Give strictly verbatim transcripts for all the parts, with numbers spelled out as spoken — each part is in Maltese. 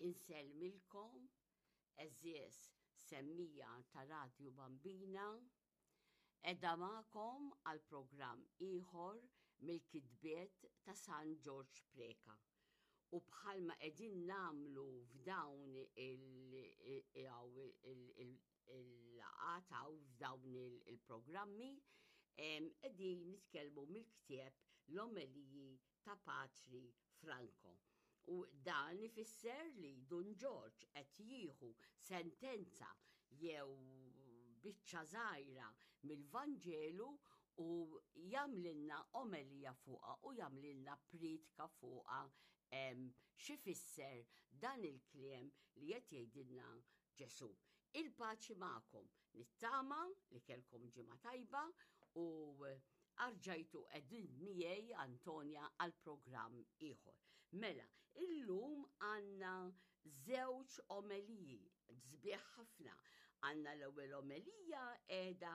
Insellmilkom, għeżież semmiegħa ta' Radju Bambina, qiegħda magħkom għal programm ieħor mill-kitbiet ta' San Ġorġ Preca. U bħalma qegħdin nagħmlu f'dawn il-laqgħat u f'dawn il-programmi, qegħdin nitkellmu mill-ktieb L-Omeliji ta' Patri Franco. U dan ifisser li Dun Ġorġ qed jieħu sentenza jew biċċa żgħira mill-Vanġelu u jagħmlilna omelija fuqha u jagħmlilna priedka fuqha, x'ifisser dan il-kliem li qed jgħidilna Ġesu. Il-paċi magħkom, nittama li kellkom ġimgħa tajba u erġajtu qegħdin miegħi Antonia għal programm ieħor. Mela, illum għandna żewġ omeliji sbieħ ħafna. Għandna l-ewwel omelija qiegħda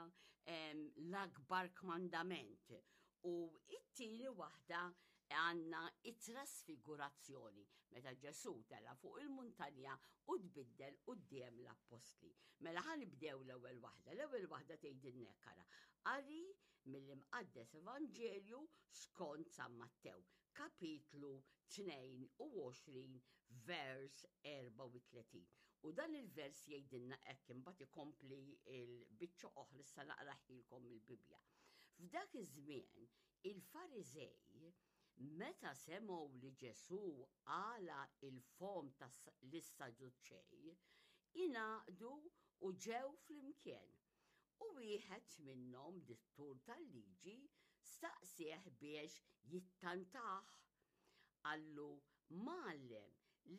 l-akbar kmandament u it-tieni waħda għandna it-trasfigurazzjoni meta Ġesu tela fuq il-muntanja u tbiddel quddiem l-appostli. Mela ħa nibdew l-ewwel waħda. L-ewwel waħda tgħidilna hekk, qari mill-Imqaddes Evanġelju skont San Mattew, kapitlu tnejn u għoxrin, vers erbgħa u tletin. U dan il-vers jgħidilna hekk, imbagħad ikompli il-biċċa oħra, issa naqrahielkom il-Bibbja. F'dak iż-żmien il-Fariżej, meta semgħu li Ġesu għalaq il-fomm tas-Sadduċej, ingħaqdu u ġew flimkien. U wieħed minnhom, dittur tal-liġi, staqsieh biex jittantah. Qallu: "Mgħallem,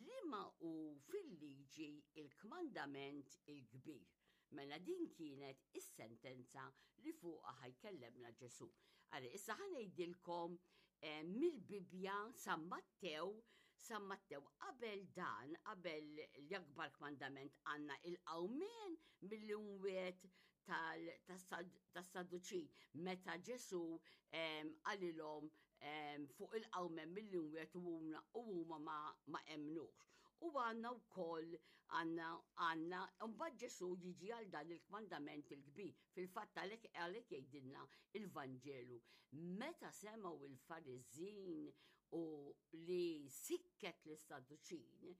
liema hu fil-liġi il-kmandament il-kbir?" Mela din kienet is-sentenza li fuqha ħa jkellimna Ġesu. Għari, issa ħa ngħidilkom eh, mill-Bibja San Mattew, San Mattew qabel dan, qabel l-akbar kmandament, għandna il-qawmien mill-imwiet tas-Sadduċin, meta Ġesu qalilhom fuq il-qawmien mill-imwiet u huma ma emnux. U għandna wkoll għandna għandna mbagħad Ġesu jiġi għal dan il-kmandament il-kbir. Fil-fatt għalhekk għalhekk jgħidilna il-Vanġelu. Meta semgħu il-Fariżin u li sikket lis-Sadduċin,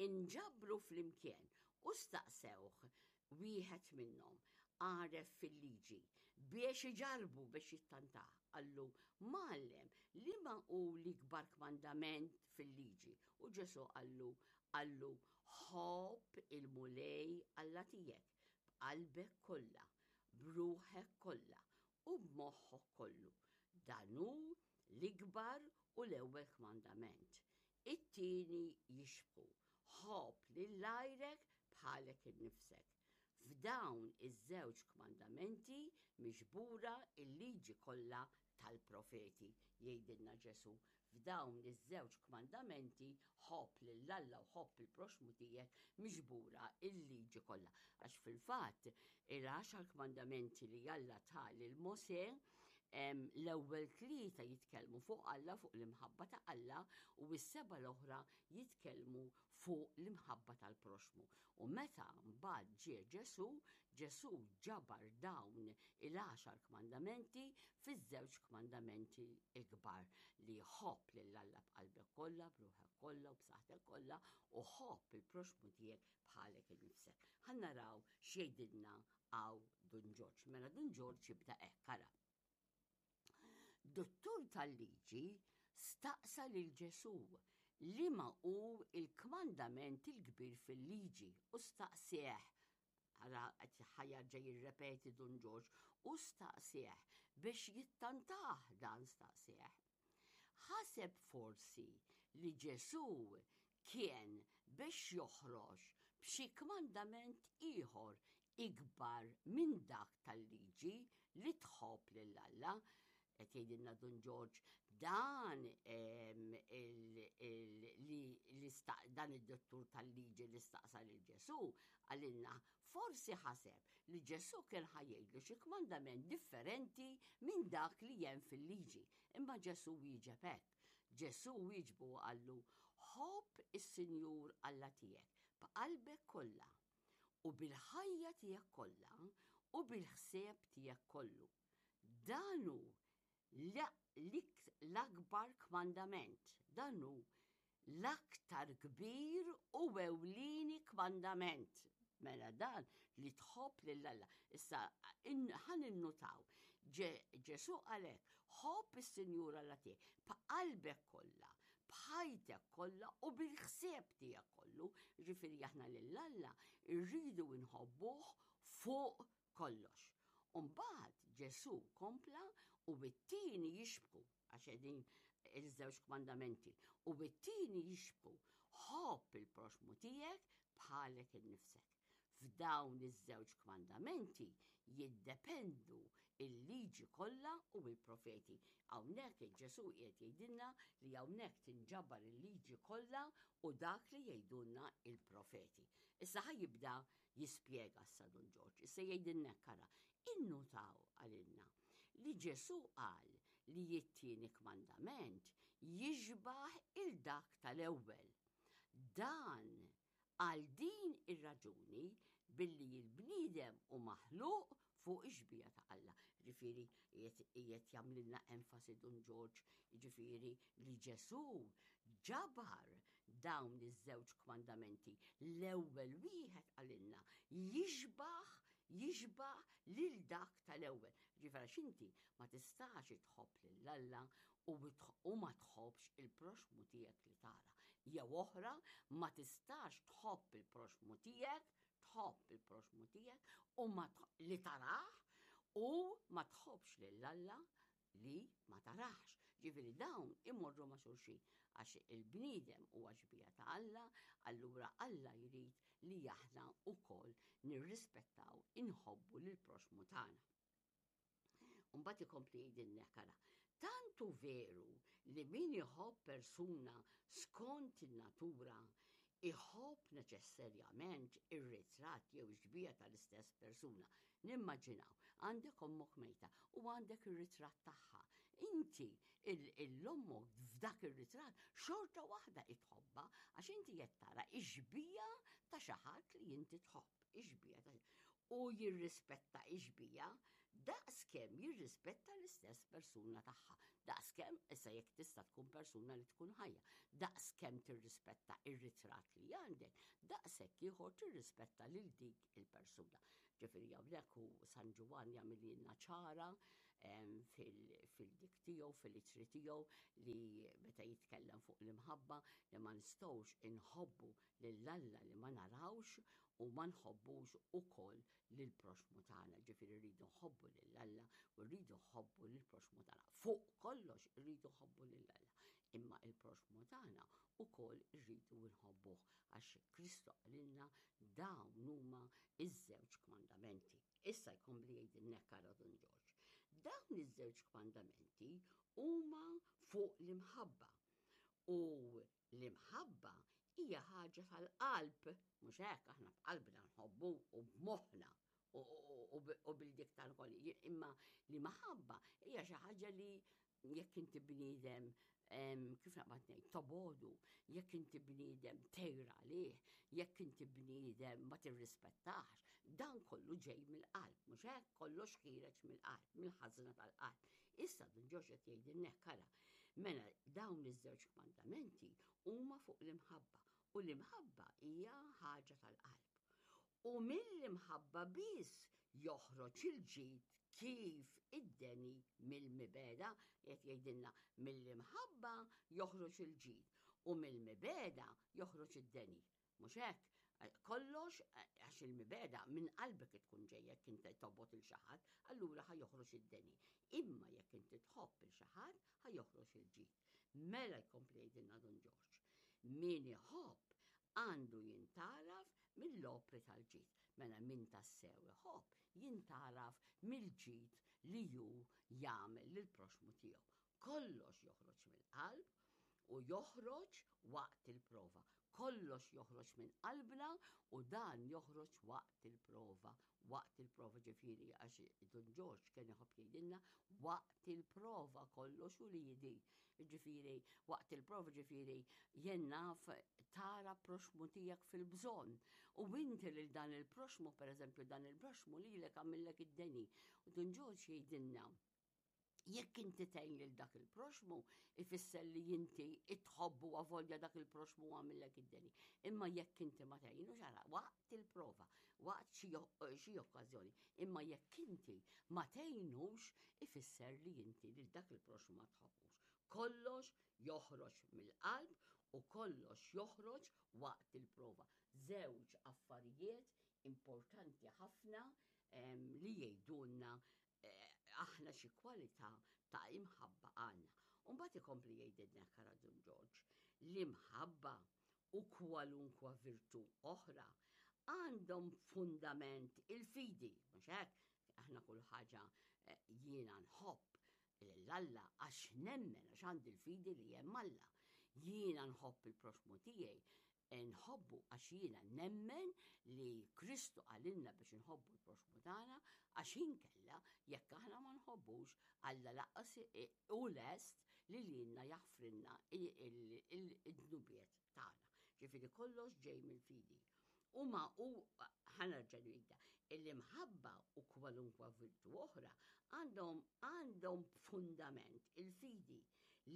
inġabru flimkien u staqsewh wieħed minnhom għaref fil-liġi biex iġarbu, biex jittantah. Qallu: "Mgħallem, liema hu l-ikbar kmandament fil-liġi?" U Ġesu qallu qallu "Ħobb il-Mulej Alla tiegħek b'qalbek kollha, b'ruħek kollha u b'moħħok kollu. Dan hu l-ikbar u l-ewwel kmandament. It-tieni jixbhu: ħobb lil għajrek bħalek innifsek. F'dawn iż-żewġ kmandamenti miġbura il-liġi kollha tal-profeti," jgħidilna Ġesu. F'dawn iż-żewġ kmandamenti, ħobb lil Alla u ħobb il-proxmu tiegħek, miġbura il-liġi kollha. Għax fil-fatt il-għaxar kmandamenti li Alla ta lil Mose, l-ewwel tlieta jitkellmu fuq Alla, fuq l-imħabba ta' Alla, u s-seba l-oħra jitkellmu fuq l-imħabba tal-proxmu. U meta mbagħad ġie Ġesu, Ġesu ġabar dawn il-għaxar kmandamenti fiż-żewġ kmandamenti ikbar, li ħobb lil Alla b'qalbek kollha, b'ruħek kollha u b'saħħtek kollha u ħobb il-proxmu tiegħek bħalek innifsek. Ħa naraw x'jgħidilna hawn Dun Ġorġ. Mela Dun Ġorġ jibda hekk, ara. Dottur tal-liġi staqsa lil Ġesu liema hu il-kmandament il-kbir fil-liġi u staqsieh, ara ħa jerġa' jirrepeti Dun Ġorġ, u staqsieh biex jittantah dan staqsieh. Ħaseb forsi li Ġesu kien biex joħroġ b'xi kmandament ieħor ikbar minn dak tal-liġi li tħobb lil Alla. Qed jgħidilna Dun Ġorġ dan li dan id-dottur tal-liġi li staqsa lil Ġesu, qalilna forsi ħaseb li Ġesu kien ħa jgħidlu xi kmandament differenti minn dak li hemm fil-liġi. Imma Ġesu wieġeb hekk. Ġesu wieġbu, qallu: Ħobb is-Sinjur Alla tiegħek b'qalbek kollha u bil-ħajja tiegħek kollha u bil-ħsieb tiegħek kollu. Dan hu l-akbar kmandament, dan hu l-aktar kbir u ewlieni kmandament. Mela dan li tħobb lil Alla. Issa ħa ninnutaw, Ġesù qalek, ħobb is-Sinjur Alla tiegħek b'qalbek kollha, b'ħajtek kollha u bil-ħsieb tiegħek kollu. Ġifieri aħna lil Alla rridu nħobbuh fuq kollox. Umbagħad Ġesù kompla u bit-tieni jixbku, għax qegħdin iż-żewġ kmandamenti, u bit-tieni jixbku, ħobb il-proxmu tiegħek bħalek innifsek. F'dawn iż-żewġ kmandamenti jiddependu il-liġi kollha u il-profeti. Hawnhekk il-Ġesù qiegħed jgħidilna li hawnhekk tinġabar il-liġi kollha u dak li jgħidulna il-profeti. Issa ħa jibda jispjega issa Dun Ġorġ. Issa jgħidilna kara, innutaw għalilna li Ġesù qal li it-tieni kmandament jixbaħ il dak tal-ewwel. Dan għal din ir-raġuni billi il-bniedem hu maħluq fuq ix-xbieha ta' Alla. Ġifieri qiegħed jagħmlilna enfasi Dun Ġorġ, ġifieri li Ġesù ġabar dawn iż-żewġ kmandamenti. L-ewwel wieħed qalilna jixbaħ jixbaħ lil dak tal-ewwel. Ġifieri x'inti ma tistax tħobb lil Alla u ma tħobbx il-proxmu tiegħek li tara. Jew oħra, ma tistax tħobb il-proxmu tiegħek, tħobb il-proxmu tiegħek u ma li tarah u ma tħobbx lil Alla li ma tarax. Ġifieri dawn imorru ma' xulxin għax il-bniedem huwa xbieha ta' Alla, allura Alla jrid li aħna wkoll nirrispettaw, inħobbu lil proxmu tagħna. Mbagħad ikompli jgħidilna kara, tant hu veru li min iħobb persuna skont in-natura iħobb neċessarjament ir-ritratt jew xbieha tal-istess persuna. Nimmaġinaw, għandek ommok mejta u għandek ir-ritratt tagħha. Inti l-ommok f'dak ir-ritratt xorta waħda itħobba għax inti qed tara ix-xbieha ta' xi ħadd li inti tħobb, ix-xbieha ta' u jirrispetta ix-xbieha daqskemm jirrispetta l-istess persuna tagħha. Daqskemm issa jekk tista' tkun persuna li tkun ħajja, daqskemm tirrispetta ir-ritratt li għandek, daqshekk ieħor tirrispetta lil dik il-persuna. Ġifieri hawnhekk hu San Ġwann jagħmilna ċara fil-dik tiegħu, fil-ittri tiegħu li meta jitkellem fuq l-imħabba li ma nistgħux inħobbu lil Alla li ma narawx u ma nħobbux ukoll lil proxmu tagħna. Ġifieri rridu nħobbu lil Alla u rridu nħobbu lil proxmu tagħna. Fuq kollox irridu nħobbu lil Alla. Imma il-proxmu tagħna ukoll irridu nħobbuh għax Kristu qalilna dawn huma iż-żewġ kmandamenti. Issa jkompli jgħidilna kara Dun Ġorġ. Dawn iż-żewġ kmandamenti huma fuq l-imħabba. U l-imħabba hija ħaġa tal-qalb, mhux hekk aħna b'qalbna nħobbu u b'moħħna u bil-dik tal-kolli. Imma l-imħabba hija xi ħaġa li jekk inti bniedem kif naqbad ngħid tobodu, jekk inti bniedem tgħir għalih, jekk inti bniedem ma tirrispettax, dan kollu ġej mill-qalb, mhux hekk kollox ħiereġ mill-qalb, mill-ħażna tal-qalb. Issa Dun Ġorġ qed jgħidilna kara, mela dawn iż-żewġ kmandamenti huma fuq l-imħabba u l-imħabba hija ħaġa tal-qalb. U mill-imħabba biss joħroġ il-ġid kif id-deni mill-mibegħda, qed jgħidilna mill-imħabba joħroġ il-ġid u mill-mibegħda joħroġ id-deni. Mhux hekk? Kollox għax il-mibegħda minn qalbek tkun ġejja jekk inti tobgħod il xi ħadd, allura ħa joħroġ id-deni. Imma jekk inti tħobb il xi ħadd, ħa joħroġ il-ġid. Mela jkompli jgħidilna Dun Ġorġ. Min iħobb għandu jintgħaraf mill-opri tal-ġid. Mela min tassew iħobb jintgħaraf mill-ġid li hu jagħmel lill-proxmu tiegħu. Kollox joħroġ mill-qalb u joħroġ waqt il-prova. Kollox joħroġ minn qalbna u dan joħroġ waqt il-prova. Waqt il-prova ġifieri għax Dun Ġorġ kien iħobb jgħidilna waqt il-prova kollox u li jidi. Ġifieri, waqt il-prova, ġifieri, jien naf, tara proxmu tiegħek fil-bżonn. U inti lil dan il-proxmu, per eżempju, dan il-proxmu li lek għamillek id-deni. U Dun Ġorġ jgħidilna, jekk inti tgħin lil dak il-proxmu, ifisser li inti tħobbu avolja dak il-proxmu għamillek id-deni. Imma jekk inti ma tgħinu ġara waqt il-prova, waqt xi okkażjoni, imma jekk inti ma tgħinux, ifisser li inti lil dak il-proxmu ma tħobbux. Kollox joħroġ mill-qalb u kollox joħroġ waqt il-prova. Żewġ affarijiet importanti ħafna li jgħidulna eh, aħna xi kwalità ta' imħabba għandna. Umbagħad ikompli jgħidilna kara Dun Ġorġ, l-imħabba u kwalunkwa virtu oħra għandhom fundament il-fidi, mhux hekk? Aħna kull ħaġa eh, jiena nħobb l-Alla għax nemmen, għax għandi l-fidi li hemm Alla. Jiena nħobb il-proxmu tiegħi, nħobbu għax jiena nemmen li Kristu qalilna biex nħobbu l-proxmu tagħna, għax inkella jekk aħna ma nħobbux, Alla lanqas hu lest li lilna jaħfrilna id-dnubiet tagħna. Ġifieri kollox ġej mill-fidi. U ma u ħa nerġa' ngħidha, l-imħabba u kwalunkwa virtu oħra għandhom għandhom fundament il-fidi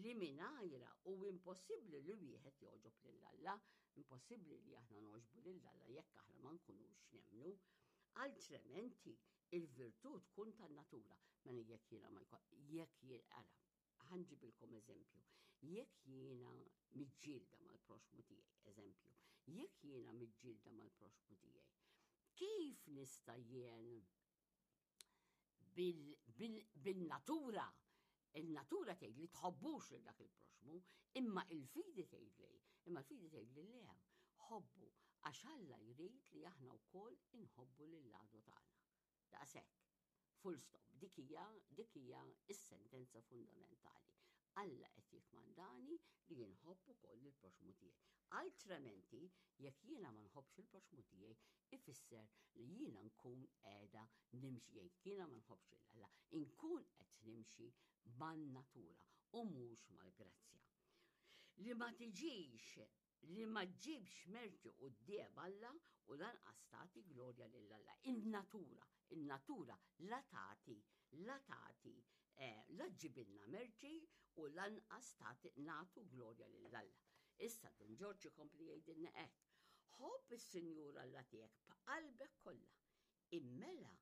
li mingħajra hu impossibbli li wieħed jogħġob lil Alla, impossibbli li aħna nogħġbu lil Alla jekk aħna ma nkunux nemmnu. Altrimenti il-virtù tkun tan-natura. Mela jekk jiena ma jkun, jekk jien, ara, ħa nġibilkom eżempju, jekk jiena miġġielda mal-proxmu tiegħi, eżempju, jekk jiena miġġielda mal-proxmu tiegħi, kif nista' jien bil-natura, il-natura tgħid li tħobbux lil dak il-proxmu, imma il-fidi tgħid li, imma l-fidi tgħid li le, ħobbu, għax Alla jrid li aħna wkoll inħobbu lill-għadu tagħna. Daqshekk. Full stop. Dik hija dik hija is-sentenza fundamentali. Alla qed jikkmandani li nħobb ukoll il-proxmu tiegħi. Altrimenti, jekk jiena ma nħobbx il-proxmu tiegħi, ifisser li jiena nkun qiegħda nimxi, jekk jiena ma nħobbx lil Alla, inkun qed nimxi man-natura u mhux mal-grazzja. Li ma tiġix, li ma ġibx merti quddiem Alla u lanqas tagħti glorja lil Alla. Il-natura, il-natura la tagħti, la tagħti, eh, la ġibilna merti u lanqas tagħti nagħtu glorja lil Alla. Issa Dun Ġorġ ikompli jgħidilna hekk. Ħobb is-Sinjur Alla tiegħek b'qalbek kollha. Immela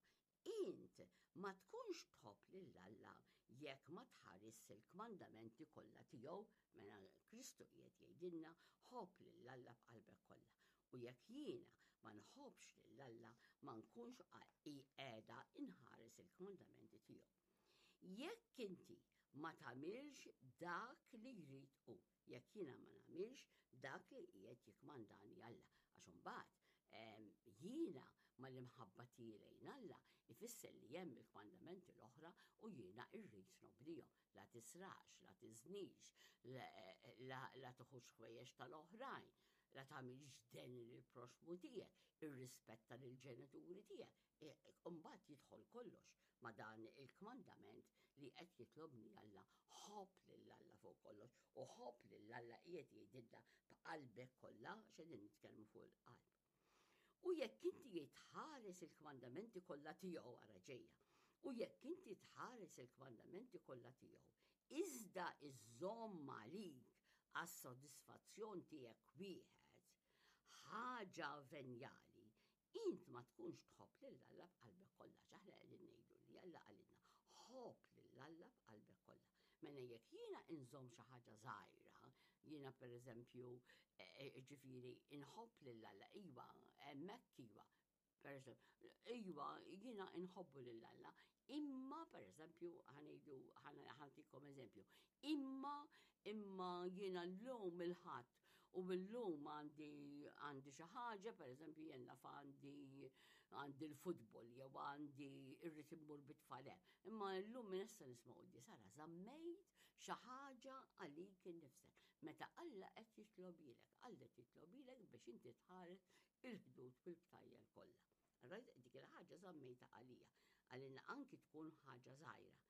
int ma tkunx tħobb lil Alla jekk ma tħares il-kmandamenti kollha tiegħu, mela Kristu qiegħed jgħidilna ħobb lil Alla b'qalbek kollha. U jekk jiena ma nħobbx lil Alla ma nkunx qiegħda inħares il-kmandamenti tiegħu. Jekk inti ma tagħmilx dak li jrid hu, jekk jiena ma nagħmilx dak li qiegħed jikkmandani Alla, għax imbagħad jiena mal-imħabba tiegħi lejn Alla ifisser li hemm il-kmandamenti l-oħra u jiena rrid nobdihom. La tisrax, la tiżnix, la tiħux ħwejjeġ tal-oħrajn, la tagħmilx deni lill-proxmu tiegħek, irrispetta lill-ġenituri tiegħek. Imbagħad jidħol kollox ma' dan il-kmandament li qed jitlobni Alla, ħobb lil Alla fuq kollox u ħobb lil Alla qiegħed jgħidilna b'qalbek kollha, x'qegħdin nitkellmu fuq il-qalb. U jekk inti tħares il-kmandamenti kollha tiegħu, ara ġejja, u jekk inti tħares il-kmandamenti kollha tiegħu, iżda iżżomm għalik għas-sodisfazzjon tiegħek wieħed ħaġa venjali, int ma tkunx tħobb lil Alla b'qalbek kollha. Aħna qegħdin ngħidu li Alla qalilna ħobb lil Alla b'qalbek kollha. Mela jekk jiena inżomm xi ħaġa żgħira, jiena pereżempju, ġifieri inħobb lil Alla, iva, hemmhekk iva. Per eżempju, iva, jiena inħobbu lil Alla, imma pereżempju ħa ngħidu, ħa nagħtikom eżempju, imma imma jiena llum il-Ħadd u llum għandi għandi xi ħaġa, pereżempju jien naf għandi għandi l-futbol jew għandi irrid immur bit-tfal hemm. Imma llum minn issa nisma' quddies, ara żammejt xi ħaġa għalik innifsek. Meta Alla qed jitlobilek, Alla qed jitlobilek biex inti tħares il-ħdud bil-btajjel kollha. Allora dik il-ħaġa żammejta għalija, għalina anki tkun ħaġa żgħira.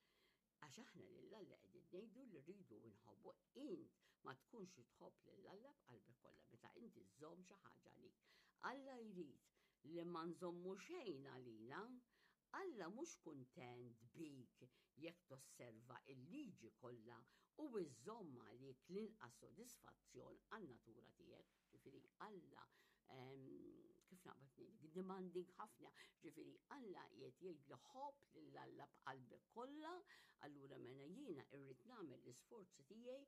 Għax aħna lil Alla qegħdin ngħidu li rridu nħobbu. Int ma tkunx tħobb lil Alla b'qalbek kollha meta inti żżomm xi ħaġa għalik. Alla jrid li ma nżommu xejn għalina. Alla mhux kuntent bik jekk tosserva il-liġi kollha u iżżomm għalik l-inqas sodisfazzjon għan-natura tiegħek. Ġifieri Alla, kif naqbad ngħidlek, demanding ħafna. Ġifieri Alla qiegħed jgħid li ħobb lil Alla b'qalbek kollha, allura mela jiena irrid nagħmel l-isforzi tiegħi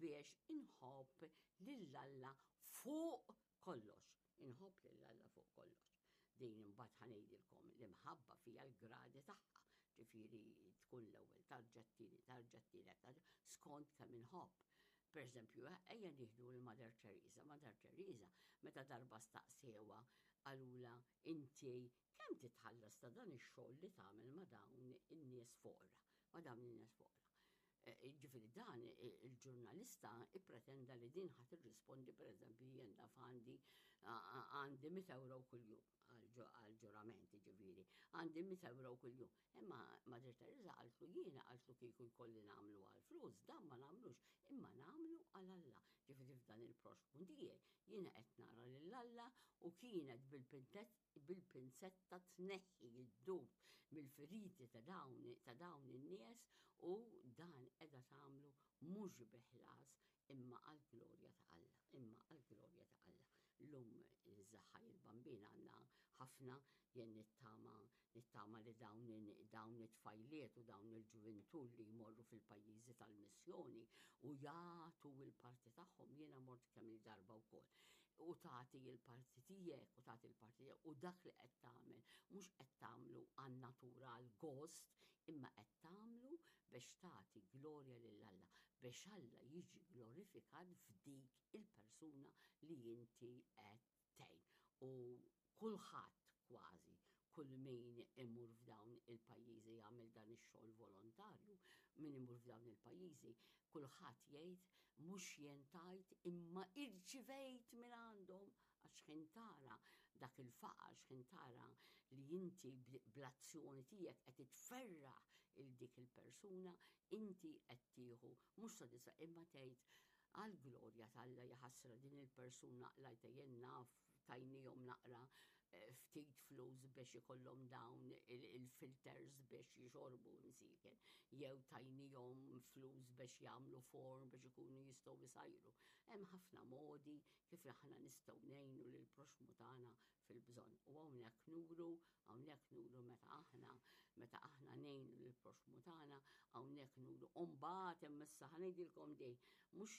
biex inħobb lil Alla fuq kollox. Inħobb lil Alla fuq kollox. Din imbagħad ħa ngħidilkom l-imħabba fiha l-gradi tagħha. Ġifieri tkun l-ewwel tarġa, t-tieni tarġa, t-tielet tarġa, skont kemm inħobb. Per eżempju, ejja nieħdu l-Mother Teresa. Mother Teresa, meta darba staqsewha, qalulha, "Inti kemm titħallas ta' dan ix-xogħol li tagħmel ma' dawn in-nies foqra?" Ma' dawn in-nies foqra. Ġifieri dan il-ġurnalista ippretenda li din ħa tirrispondi, per eżempju, jien naf għandi għandi mitt euro kuljum, għal-ġurament, ġifieri, għandi mitt euro kuljum. Imma Mother Teresa qaltlu, jiena, qaltlu, "Kieku jkolli nagħmlu għal flus, dan ma nagħmlux, imma nagħmlu għal Alla. Ġifieri f'dan il-proxmu tiegħi jiena qed nara lil Alla." U kienet bil-pinzetta tneħħi id-dud mill-feriti ta' dawn ta' dawn in-nies u dan qiegħda tagħmlu mhux bi ħlas imma għall-glorja ta' Alla, imma għall-glorja ta' Alla. Illum iż-żaħħa il-Bambin għandna ħafna, jien nittama nittama li dawn dawn it-tfajliet u dawn il-ġuventur li jmorru fil-pajjiżi tal-missjoni u jagħtu il-parti tagħhom. Jiena mort kemm il-darba wkoll, u tagħti il-parti tiegħek u tagħti il-parti tiegħek u dak li qed tagħmel mhux qed tagħmlu għan-natura, għal-gost, imma qed tagħmlu biex tagħti glorja lil Alla, biex Alla jiġi glorifikat f'dik il-persuna li inti qed tgħin. U kulħadd, kważi kull min imur f'dawn il-pajjiżi jagħmel dan ix-xogħol volontarju, min imur f'dawn il-pajjiżi, kulħadd jgħid, mhux jien tajt imma irċivejt minn għandhom, għax ħin tara dak il-faqar, x'ħin tara li inti bl-azzjoni tiegħek qed tferraħ il dik il-persuna, inti qed tieħu mhux sodisfa imma tgħid, "Għal-glorja t'Alla, jaħasra din il-persuna lajta, jien naf tajnihom naqra eh, ftit flus biex ikollhom dawn il-filters biex jixorbu msiken, jew tajnihom flus biex jagħmlu forn biex ikunu jistgħu jsajru." Hemm ħafna modi kif aħna nistgħu ngħinu lil proxmu tagħna fil-bżonn. U hawnhekk nuru, hawnhekk nuru meta aħna meta aħna ngħinu lil proxmu tagħna, hawnhekk nuru. U mbagħad hemm issa ħa ngħidilkom di, mhux